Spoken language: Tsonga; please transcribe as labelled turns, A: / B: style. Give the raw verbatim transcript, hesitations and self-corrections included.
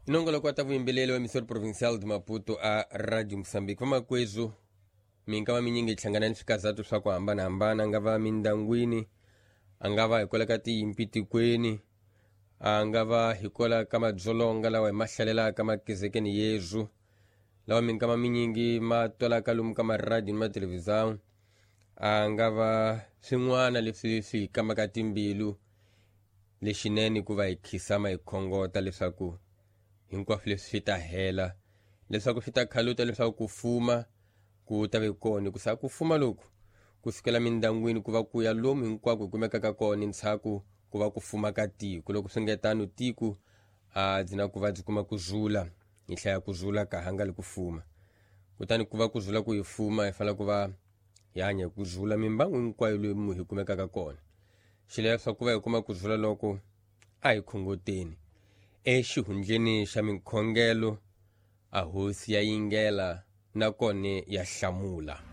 A: Nongoloko wa ta vuyimbeleri wa emissora provincial de Maputo a Radio Moçambique. Vamakwezu, minkama minyingi hi hlangana ni swikazatu swa ku hambanahambana, a nga va mindyangwini, a nga va hikwalaho ka tinyimpi tikweni, a nga va hikwalaho ka madzolonga lawa hi ma hlalelaka makezekeni yezu, lawa minkama minyingi ma twalaka lomu ka maradiyo ni mathelevhizão, a nga va swin'wana leswi swi hi kambaka timbilu. Lexinene ku va hi khisama hi khongota leswaku hinkwaswo leswi swi ta hela, leswaku swi ta khaluta, leswaku ku fuma ku ta ve kona, hikusa ku fuma loku ku sukela mindyangwini ku va ku ya lomu hinkwako hi kumekaka kona ntshaku ku va ku fuma ka tiko. Loko swi nge tano tiko a byi na ku va byi kuma ku zula, hi hlaya ku zula ka ha nga li ku fuma. Kutani ku va ku zula ku hi fuma, hi fanele ku va hi hanya hi ku zula mimbangu hinkwayo lomu hi kumekaka kona. Xileswaku ku va hi kuma ku zula loko a hi khongoteni exihundleni xa minkhongelo, a hosi ya yingela nakona ya hlamula.